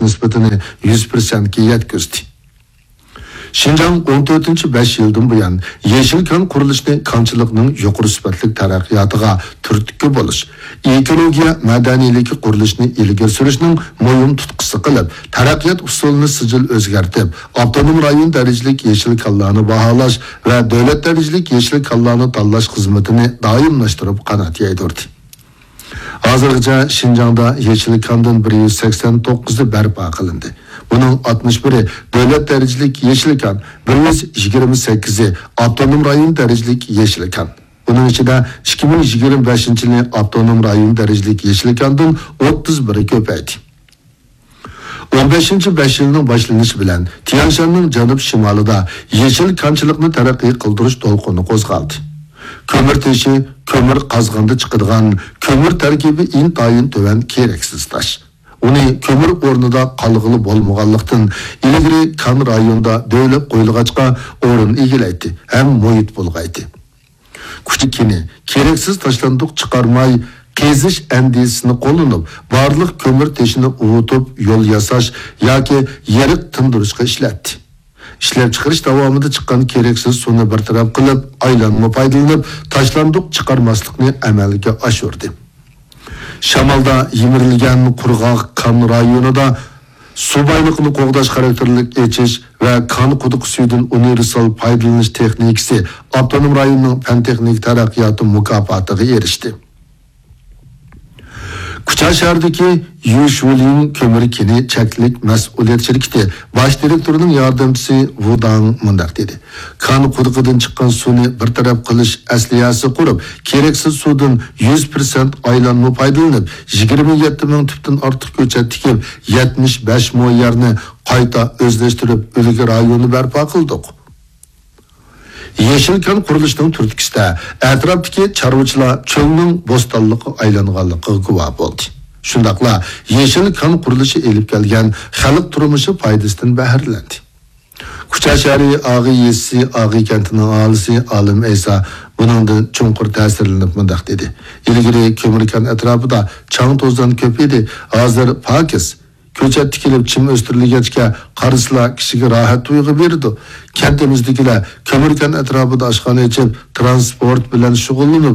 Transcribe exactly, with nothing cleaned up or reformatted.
نىسبىتىنى يۈز پىرسەنتكە يەتكۈزدى. شىنجاڭ ئون تۆتىنچى بەش يىلدىن بۇيان يېشىل كان قۇرۇلۇشىنى كانچىلىقنىڭ يۇقىرى سۈپەتلىك تەرەققىياتىغا تۈرتكە بولۇش، ئېكولوگىيە مەدەنىيلىكى قۇرۇلۇشىنى ئىلگىرى سۈرۈشنىڭ مۇھىم تۇتقىسى قىلىپ، تەرەققىيات ئۇسۇلىنى سىجىل ئۆزگەرتىپ، ئاپتونوم رايون دەرىجىلىك يېشىل كانلارنى باھالاش ۋە دۆلەت دەرىجىلىك يېشىل كانلارنى تاللاش خىزمىتىنى دائىملاشتۇرۇپ قانات يايدۇردى. ھازىرغىچە شىنجاڭدا يېشىل كاندىن بىر يۈز سەكسەن توققۇزى بەرپا قىلىندى. بۇنىڭ ئاتمىش بىرى دۆلەت دەرىجىلىك يېشىل كان، بىر يۈز يىگىرمە سەككىزى ئاپتونوم رايون دەرىجىلىك يېشىل كان. بۇنىڭ ئىچىدە ئىككى مىڭ يىگىرمە بەشىنچى يىلى ئاپتونوم رايون دەرىجىلىك يېشىل كاندىن ئوتتۇز بىرى كۆپەيدى. ئون بەشىنچى بەش يىلنىڭ باشلىنىشى بىلەن تيەنشاننىڭ جەنۇب شىمالىدا يېشىل كانچىلىقنى تەرەققىي قىلدۇرۇش دولقۇنى قوزغالدى. كۆمۈر تېشى، كۆمۈر قازغاندا چىقىدىغان كۆمۈر تەركىبى ئىنتايىن تۆۋەن كېرەكسىز تاش. ئۇنى كۆمۈر ئورنىدا قالغىلى بولمىغانلىقتىن، ئىلگىرى كان رايونىدا دۆۋىلەپ قويۇلغاچقا ئورۇن ئىگىلەيتتى ھەم مۇھىت بۇلغايتتى. كۈچىكىنى كېرەكسىز تاشلاندۇق چىقارماي، قېزىش ئەندىزىسىنى قوللىنىپ، بارلىق كۆمۈر تېشىنى ئۇۋۇتۇپ يول ياساش ياكى يېرىق تىندۇرۇشقا ئىشلەتتى. ئىشلەپچىقىرىش داۋامىدا چىققان كېرەكسىز سۇنى بىر تەرەپ قىلىپ، ئايلانما پايدىلىنىپ، تاشلاندۇق چىقارماسلىقنى ئەمەلگە ئاشۇردى. شامالدا يىمىرىلگەن قۇرغاق كان رايونىدا سۇ بايلىقىنى قوغداش خاراكتېرلىك ئېچىش ۋە كان قۇدۇقى سۈيىدىن ئۇنىۋېرسال پايدىلىنىش تېخنىكىسى ئاپتونوم رايوننىڭ پەن-تېخنىكا تەرەققىياتى مۇكاپاتىغا ئېرىشتى. كۇچا شەھىرىدىكى يۈشۋۇلىڭ كۆمۈر كېنى چەكلىك مەسئۇلىيەت شىركىتى باش دىرېكتورىنىڭ ياردەمچىسى ۋۇ داڭ مۇنداق دېدى: كان قۇدۇقىدىن چىققان سۇنى بىر تەرەپ قىلىش ئەسلىھەسى قۇرۇپ، كېرەكسىز سۇدىن يۈز پىرسەنت ئايلانما پايدىلىنىپ، يىگىرمە يەتتە مىڭ تۈپتىن ئارتۇق كۆچەت تىكىپ، يەتمىش بەش مو يەرنى قايتا ئۆزلەشتۈرۈپ، ئۈلگە رايونى بەرپا قىلدۇق. يېشىل كان قۇرۇلۇشىنىڭ تۈرتكىسىدە ئەتراپتىكى چارۋىچىلار چۆلنىڭ بوستانلىققا ئايلانغانلىقىغا گۇۋاھ بولدى. شۇنداقلا يېشىل كان قۇرۇلۇشى ئېلىپ كەلگەن خەلق تۇرمۇشى پايدىسىدىن بەھرىلەندى. كۇچا شەھىرى ئاغى يېزىسى ئاغى كەنتىنىڭ ئاھالىسى ئالىم ئەيسا بۇنىڭدىن چوڭقۇر تەسىرلىنىپ مۇنداق دېدى: ئىلگىرى كۆمۈر كان ئەتراپىدا چاڭ-توزان كۆپ ئىدى، ھازىر پاكىز. كۆچەت تىكىلىپ، چىم ئۆستۈرۈلگەچكە، قارىسىلا كىشىگە راھەت تۇيغۇ بېرىدۇ. كەنتىمىزدىكىلەر كۆمۈر كان ئەتراپىدا ئاشخانا ئېچىپ، تىرانسپورت بىلەن شۇغۇللىنىپ،